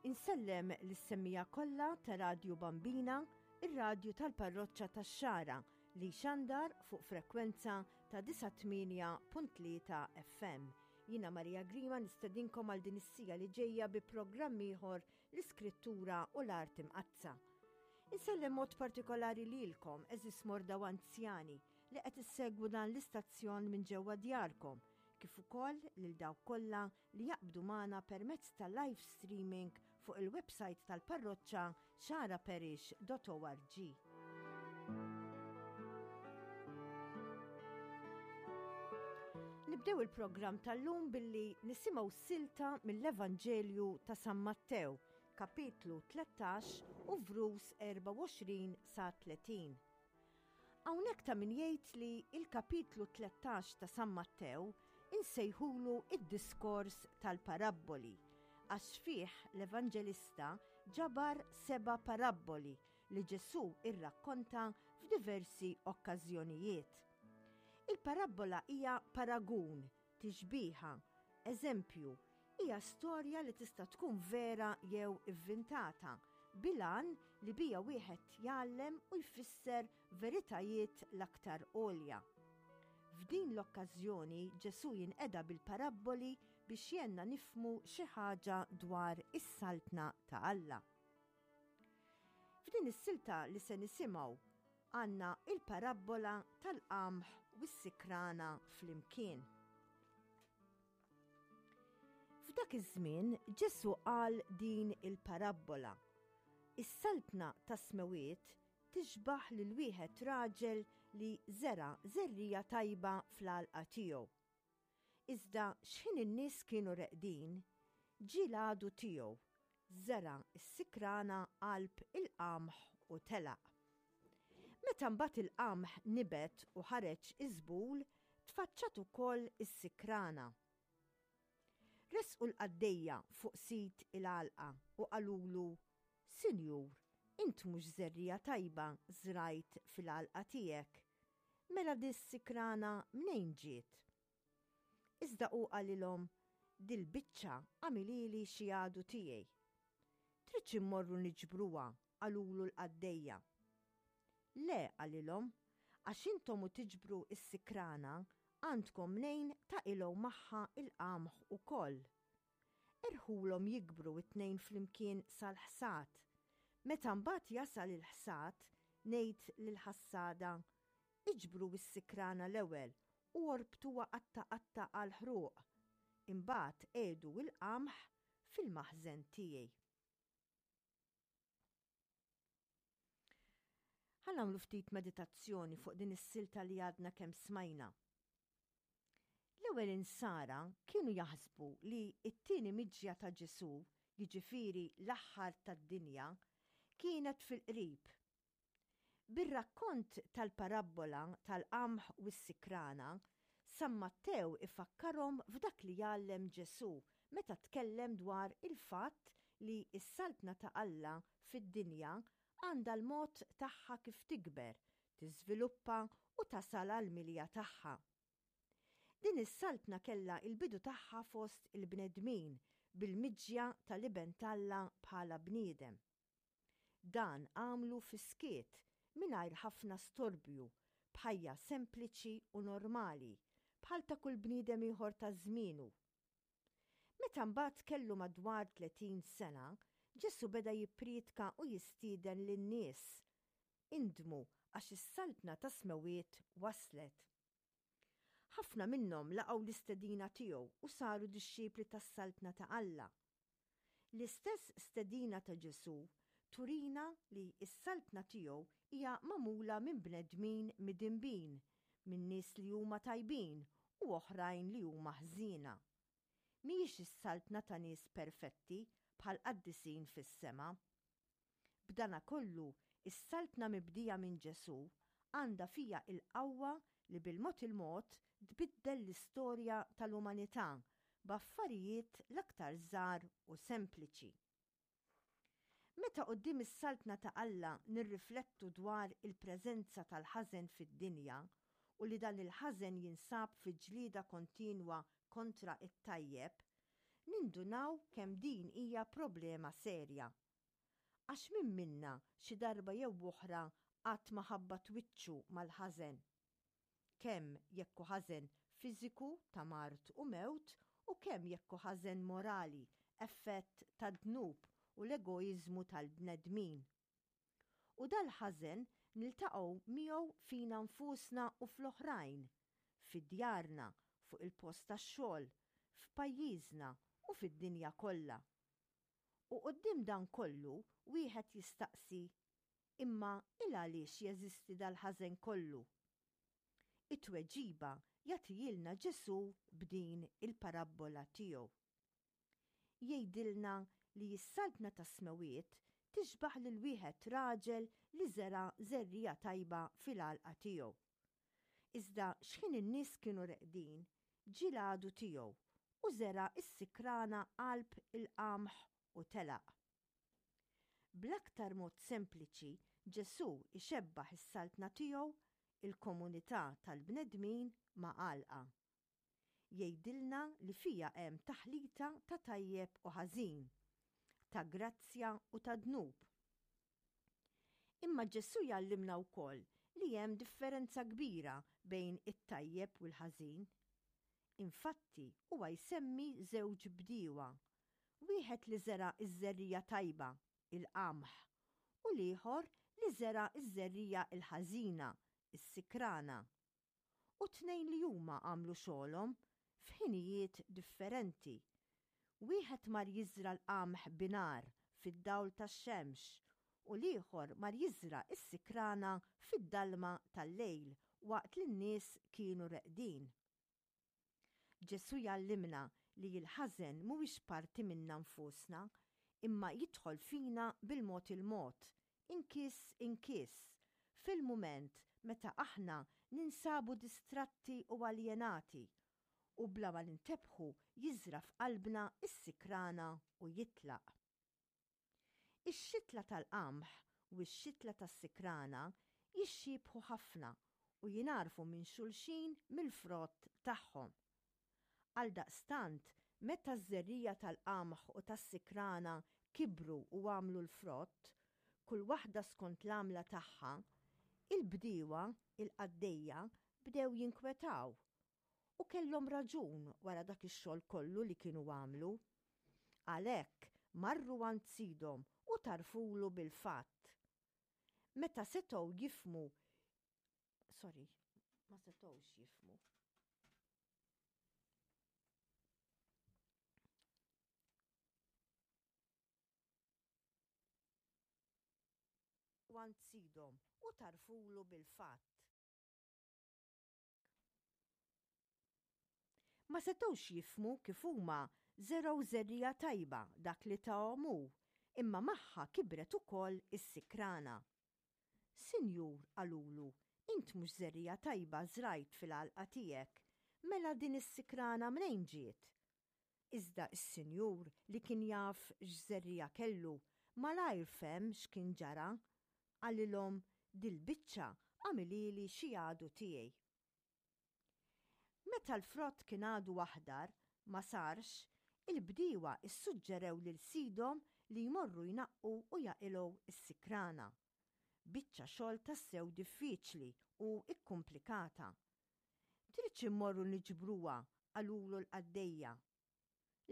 Insellem lis-semmiegħa kollha ta' Radju Bambina, ir-radju tal-Parroċċa tax-Xagħra li jxandar fuq frekwenza ta' 98.3 FM. Jiena Maria Grima nistedinkom għal din is-sija li ġejja bi programm ieħor l-Iskrittura u l-Art Imqaddsa. Insellem mod partikolari lilkom, eżis morda u anzjani, li qed issegwu dan l-istazzjon minn ġewwa djarkom, kif ukoll lil dawk kollha li jaqbdu magħna permezz ta' live streaming fuq il-website tal-parroċċa xaraparish.org. Nibdew il-programm tal-lum billi nisimgħu silta mill-Evanġelju ta' San Mattew, kapitlu 13 u vrus 24 sa 30. Hawnhekk ta' min jgħid li il-kapitlu 13 ta' San Mattew insejħulu id-diskors tal-parabboli, għax fih l-Evanġelista ġabar seba' parabboli li Ġesù irrakkonta f'diversi okkażjonijiet. Il-parabbola hija paragun, tixbiha, eżempju, hija storja li tista' tkun vera jew ivvintata, bil-għan li bija wieħed jgħallem u jfisser veritajiet l-aktar għolja. F'din l-okkażjoni Ġesù jinqeda bil-parabboli biex jgħinna nifhmu xi ħaġa dwar is-Saltna ta' Alla. F'din is-silta li se nisimgħu għandna il-parabbola tal-qamħ u s-sikrana flimkien. F'dak iż-żmien Ġesù qal din il-parabbola. Is-saltna tas-smewiet tixbaħ lil wieħed raġel li żera' żerriegħa tajba fl-għalqa tiegħu. Iżda x'ħin in-nies kienu reqdin, ġie l-għadu tiegħu, żera' s-sikrana qalb il-qamħ u telaq. Meta mbagħad il-qamħ nibet u ħareġ iż-żbul, tfaċċat ukoll is-sikrana. Resqu l-qaddejja fuq sid il-għalqa u qalulu, Sinjur, int mhux żerriegħa tajba żrajt fil-għalqa tiegħek? Mela dis-sikrana mnejn ġiet? Iżda hu qalilhom, Dil-biċċa għamilhieli xi għadu tiegħi. Tridx immorru niġbruha, qalulu l-qaddejja. Le, qalilhom, għax intom u tiġbru s-sikrana għandkom mnejn taqilgħu magħha l-qamħ ukoll. Erħulhom jikbru t-tnejn flimkien sal-ħsad. Meta mbagħad jasal il-ħsad, ngħid lill-ħassada, 'Iġbru s-sikrana l-ewwel u orbtuha qatta' qatta' għall-ħruq, imbagħad qiegħdu l-qamħ fil-maħżen tiegħi. Ħa nagħmlu ftit meditazzjoni fuq din is-silta li għadna kemm smajna. L-ewwel insara kienu jaħsbu li t-tieni miġja ta' Ġesù, jiġifieri l-aħħar tad-dinja, kienet fil-qrib. Bir-rakkont tal-parabbola tal-qamħ u s-sikrana, San Mattew ifakkarhom f'dak li għallem Ġesù meta tkellem dwar il-fatt li s-Saltna ta' Alla fid-dinja għandha l-mod tagħha kif tikber, tiżviluppa u tasal għall-milja tagħha. Din is-Saltna kellha l-bidu tagħha fost il-bnedmin bil-miġja tal-Iben t'Alla bħala bniedem. Dan għamlu fis-skiet, mingħajr ħafna storbju, b'ħajja sempliċi u normali, bħal ta' kull bniedem ieħor ta' żmienu. Meta mbagħad kellu madwar 30 sena, Ġesù beda jipprietka u jistieden lin-nies, Indmu għax is-Saltna tas-Smewwiet waslet. Ħafna minnhom laqgħu l-istedina tiegħu u saru dixxipli tas-Saltna ta' Alla. L-istess stedina ta' Ġesù turina li s-Saltna tiegħu hija magħmula minn bnedmin midinbin, minn nies li huma tajbin u oħrajn li huma ħżiena. Mhijiex is-Saltna ta' nies perfetti bħall-qaddisin fis-sema. B'danakollu, is-Saltna mibdija minn Ġesù għandha fiha l-qawwa li bil-mod il-mod tbiddel l-istorja tal-umanità b'affarijiet l-aktar żgħar u sempliċi. Meta quddiem is-Saltna ta' Alla nirriflettu dwar il-preżenza tal-ħażen fid-dinja u li dan il-ħażen jinsab fi ġlieda kontinwa kontra t-tajjeb, nindunaw kemm din hija problema serja. Għax min minna xi darba jew oħra qatt ma ħabbat wiċċu mal-ħażen? Kemm jekk hu ħażen fiżiku ta' mard u mewt u kemm jekk hu ħażen morali, effett tad-dnub u l-egoiżmu tal-bnedmin. U dal-ħażen niltaqgħu miegħu fina nfusna u fl-oħrajn, fi djarna, fuq il-post tax-xogħol, f'pajjiżna u fid-dinja kollha. U quddiem dan kollu wieħed jistaqsi, imma il-għaliex jeżisti dal-ħażen kollu? It-tweġiba jagħtihielna Ġesù b'din il-parabbola tiegħu. Jgħidilna li s-Saltna tas-Smewwiet tixbah lil wieħed raġel li żera' żerriegħa tajba fil-għalqa tiegħu. Iżda x'ħin in-nies kienu reqdin, ġie l-għadu tiegħu u żera' s-sikrana qalb il-qamħ u telaq. Bl-aktar mod sempliċi, Ġesù jxebbah is-Saltna tiegħu, il-komunità tal-bnedmin, ma' għalqa. Jgħidilna li fiha hemm taħlita ta' tajjeb u ħażin, ta' grazzja u ta' dnub. Imma Ġesù jgħallimna wkoll li hemm differenza kbira bejn it-tajjeb u l-ħażin. Infatti, huwa jsemmi żewġ bdiewa, wieħed li żera' ż-żerriegħa tajba, il-qamħ, u l-ieħor li żera' ż-żerriegħa l-ħażina, is-sikrana. U t-tnejn li huma għamlu xogħolhom f'ħinijiet differenti. Wieħed mar jiżra' l-qamħ binhar fid-dawl tax-xemx u l-ieħor mar jiżra' s-sikrana fid-dalma tal-lejl waqt li n-nies kienu reqdin. Ġesù jgħallimna li l-ħażen mhuwiex parti minna nfusna, imma jidħol fina bil-mod il-mod, inkiss inkiss, fil-mument meta aħna ninsabu distratti u aljenati, u bla ma nintebħu jiżra' f'qalbna s-sikrana u jitlaq. Ix-xitla tal-qamħ u x-xitla tas-sikrana jixxiebħu ħafna u jingħarfu minn xulxin mill-frott tagħhom. Għaldaqstant, meta ż-żerriegħa tal-qamħ u tas-sikrana kibru u għamlu l-frott, kull waħda skont l-għamla tagħha, il-bdiewa, il-qaddejja, bdew jinkwetaw. U kellhom raġun wara dak ix-xogħol kollu li kienu għamlu. Għalhekk marru għand sidhom u tarfulu bil-fatt. Meta setgħu jifhmu sorry, ma setgħux jifhmu. Għand sidhom u tarfulu bil-fatt. Ma setgħux jifhmu kif huma żergħu żerriegħa tajba dak li tahom hu, imma magħha kibret ukoll is-sikrana. Sinjur, qalulu, int mhux żerriegħa tajba żrajt fil-għalqa tiegħek, mela din is-sikrana mnejn ġiet? Iżda s-sinjur, li kien jaf x'żerriegħa kellu, malajr fehem x'kien ġara. Qalilhom, Dil-biċċa għamilhieli xi għadu tiegħi. Meta l-frott kien għadu aħdar, ma sarx, il-bdiewa ssuġġerew lil sidhom li jmorru jnaqqu u jaqilgħu s-sikrana. Biċċa xogħol tassew diffiċli u kkumplikata. Tridx immorru niġbruha, qalulu l-qaddejja.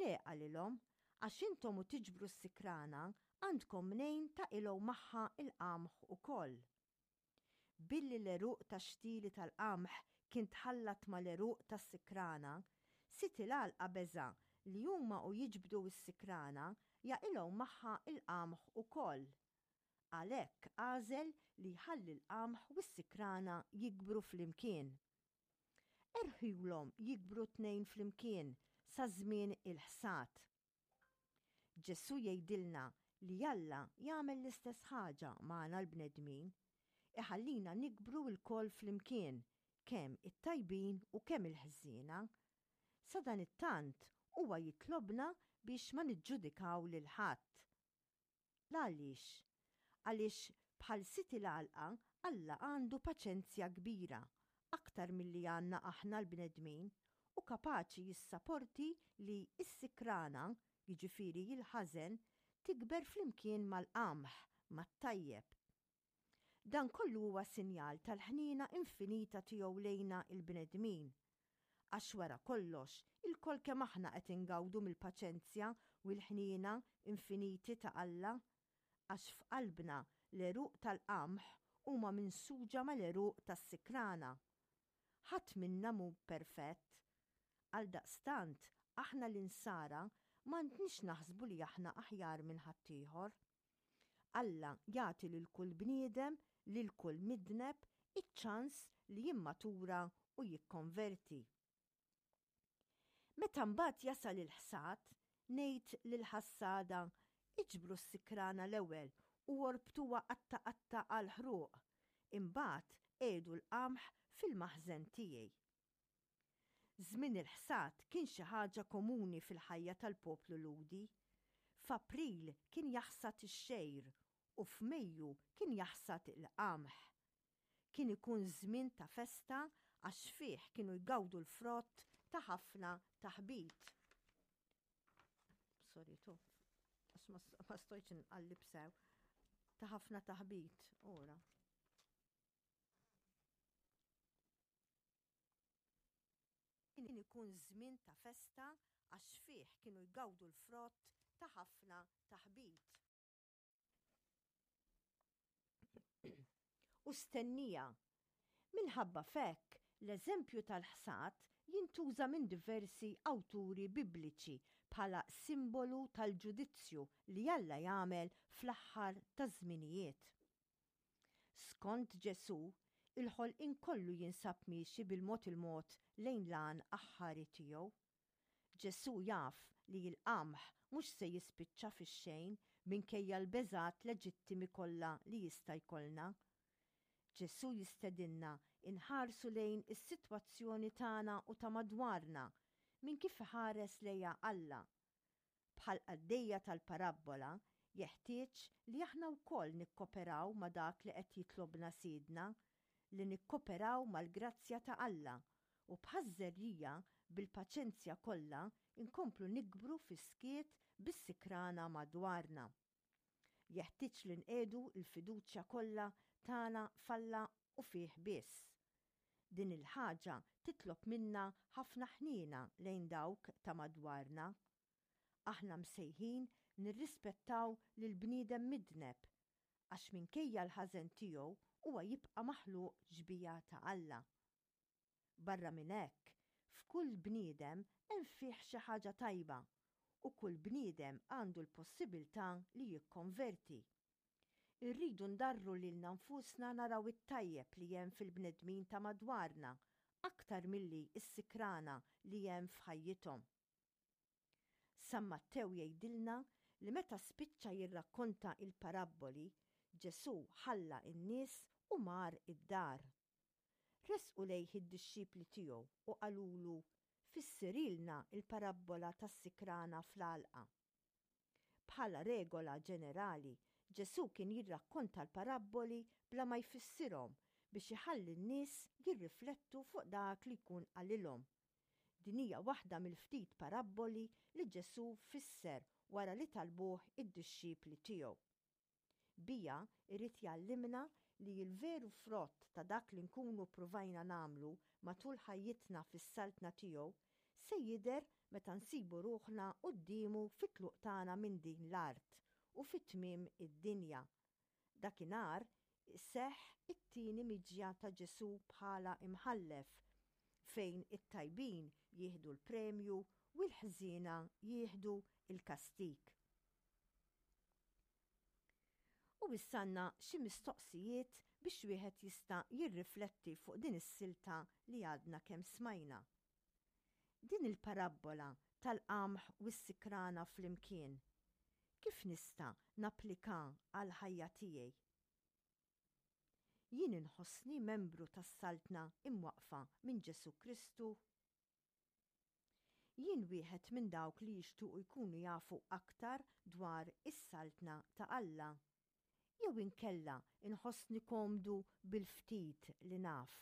Le, qalilhom, għax intom u tiġbru s-sikrana għandkom mnejn taqilgħu magħha l-qamħ ukoll. Billi l-għeruq tax-xtieli tal-qamħ kien tħallat mal-għeruq tas-sikrana, sid il-għalqa beża' li huma u jiġbdu s-sikrana jaqilgħu magħha l-qamħ ukoll. Għalhekk għażel li jħalli l-qamħ u s-sikrana jikbru flimkien. Erħiulhom jikbru t-tnejn flimkien sa żmien il-ħsad. Ġesù jgħidilna li Alla jagħmel l-istess ħaġa magħna l-bnedmin, iħallina nikbru lkoll flimkien, kemm it-tajbin u kemm il-ħżiena. Sadanittant, huwa jitlobna biex ma niġġudikaw lil ħadd. L-għaliex? Għaliex bħal sid il-għalqa, Alla għandu paċenzja kbira, aktar milli għandna aħna l-bnedmin. u kapaċi jissaporti li s-sikrana, jiġifieri l-ħażen, tikber flimkien mal-qamħ, mat-tajjeb. Dan kollu huwa sinjal tal-ħniena infinita tiegħu lejna l-bnedmin. Għax wara kollox, ilkoll kemm aħna qed ingawdu mill-paċenzja u l-ħniena infiniti ta' Alla. Għax f'qalbna l-għeruq tal-qamħ huma minsuġa mal-għeruq tas-sikrana. Ħadd minna mhu perfett. Għaldaqstant, aħna l-Insara m'għandniex naħsbu li aħna aħjar minn ħaddieħor. Alla jagħti lil kull bniedem, lil kull midneb, iċ-ċans li jimmatura u jikkonverti. Meta mbagħad jasal il-ħsad, ngħid lill-ħassada, iġbru s-sikrana l-ewwel u orbtuha qatta' qatta' għall-ħruq, imbagħad qiegħdu l-qamħ fil-maħżen tiegħi. Żmien il-ħsad kien xi ħaġa komuni fil-ħajja tal-poplu Lhudi. F'April kien jaħsad ix-xgħir u f'Mejju kien jaħsad il-qamħ. Kien ikun żmien ta' festa għax fih kienu jgawdu l-frott ta' ħafna taħbit. Sorry, tu. Għax ma stojtx inqallib sew. Ta' ħafna taħbit. Ora. Kien ikun żmien ta' festa għax fih kienu jgawdu l-frott ta' ħafna taħbit. U stennija. Minħabba f'hekk, l-eżempju tal-ħsad jintuża minn diversi awturi Bibliċi bħala simbolu tal-ġudizzju li Alla jagħmel fl-aħħar taż-żminijiet. Skont Ġesù, il-ħolqien kollu jinsab miexi bil-mod il-mod lejn l-għan aħħari tiegħu. Ġesù jaf li l-qamħ mhux se jispiċċa fix-xejn minkejja l-beżgħat leġittimi kollha li jista' jkollna. Ġesù jistedinna nħarsu lejn is-sitwazzjoni tagħna u ta' madwarna minn kif iħares lejha Alla. Bħall-qaddejja tal-parabbola, jeħtieġ li aħna wkoll nikkoperaw ma' dak li qed jitlobna Sidna, li nikkoperaw mal-grazzja ta' Alla u bħaż-żerriegħa bil-paċenzja kollha nkomplu nikbru fis-skiet bis-sikrana madwarna. Jeħtieġ li nqiegħdu l-fiduċja kollha tagħna f'Alla u fih biss. Din il-ħaġa titlob minna ħafna ħniena lejn dawk ta' madwarna. Aħna msejħin nirrispettaw lill-bniedem midneb, għax minkejja l-ħażen tiegħu huwa jibqa' maħluq xbieha ta' Alla. Barra minn hekk, f'kull bniedem hemm fih xi ħaġa tajba u kull bniedem għandu l-possibiltà li jikkonverti. Irridu ndarru lilna nfusna naraw it-tajjeb li hemm fil-bnedmin ta' madwarna aktar milli s-sikrana li hemm f'ħajjithom. San Mattew jgħidilna li meta spiċċa jirrakkonta l-parabboli, Ġesù ħalla n-nies u mar id-dar. Resqu lejh id-dixxipli tiegħu u qalulu, Fissirilna l-parabbola tas-sikrana fl-għalqa. Bħala regola ġenerali, Ġesù kien jirrakkonta l-parabboli bla ma jfissirhom biex iħalli n-nies jirriflettu fuq dak li jkun qalilhom. Din hija waħda mill-ftit parabboli li Ġesù fisser wara li talbuh id-dixxipli tiegħu. Biha jrid jgħallimna li l-veru frott ta' dak li nkunu ppruvajna nagħmlu matul ħajjitna fis-Saltna tiegħu se jidher meta nsibu ruħna quddiemu fit-tluq tagħna minn din l-art u fi tmiem id-dinja. Dakinhar iseħħ it-tieni miġja ta' Ġesù bħala Imħallef, fejn it-tajbin jieħdu l-premju u l-ħżiena jieħdu l-kastig. U issa għandna xi mistoqsijiet biex wieħed jista' jirrifletti fuq din is-silta li għadna kemm smajna. Din il-parabbola tal-qamħ u s-sikrana flimkien, kif nista' napplika għall-ħajja tiegħi? Jien inħossni membru tas-Saltna imwaqqfa minn Ġesù Kristu? Jien wieħed minn dawk li jixtiequ jkunu jafu aktar dwar is-Saltna ta' Alla? Jew inkella nħossni komdu bil-ftit li naf?